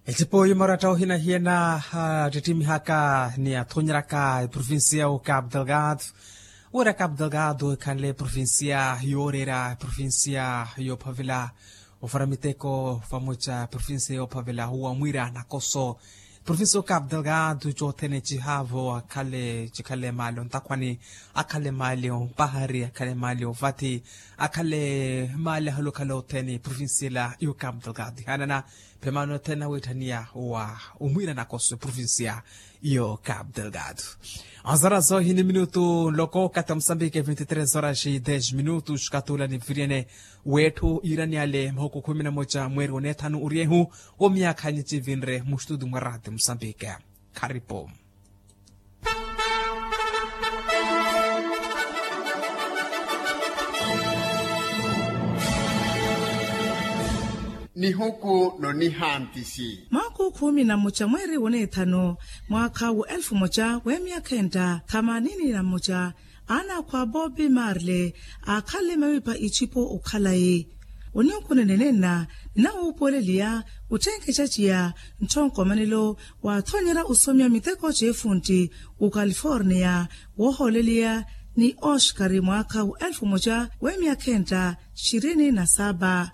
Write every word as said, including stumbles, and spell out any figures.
Ecipo yumaratta ohina hiyana attittimiihaka ni atthonyeraka eprovincia y'okapu delgado. Wira kapu delgado ekhanle eprovincia yooreera eprovincia yoophavela ofara miteko vamoca eprovincia yoophavela owa mwiira nakoso. Eprovincia y'okapu delgado cothene cihaavo akhale cikhale maali ontakhwani, akhale maali ompahari akhale maali ovathi, akhale maali ahalokhala othene eprovincia ela y'okapu delgado ihaanana. Phemano thena wetthaniya wa omwiira nakoso eprovincia y'okapu delgado. Azora zohini minutu nloko kata musambike vinti tres horas e des minutu xkatula ni viriene. Wetthu iirani ale mahuku khumi na moca mweeri oneethanu oryehu. Wo myaakha nyi civinre mustutu mwa rati musambike. Kharipo. Nihuku nonihantisi. Mwaakhu khumi na mmoca mweeri woneethano mwaakha wa elfu mmoca w'emyakha enta thamanini na mmoca. Aana akhwa bobi marle aakhale mawipa icipo okhalayi. Onihuku nenenenna ninawuupuweleliya. Otthenkexa ciya ntthonkomanelo waathonyerya osomya miteko c'efuntti ocaliforniya woohooleliya ni oxkari mwaakha wa elfu mmoca w'emyakha enta xirini na saba.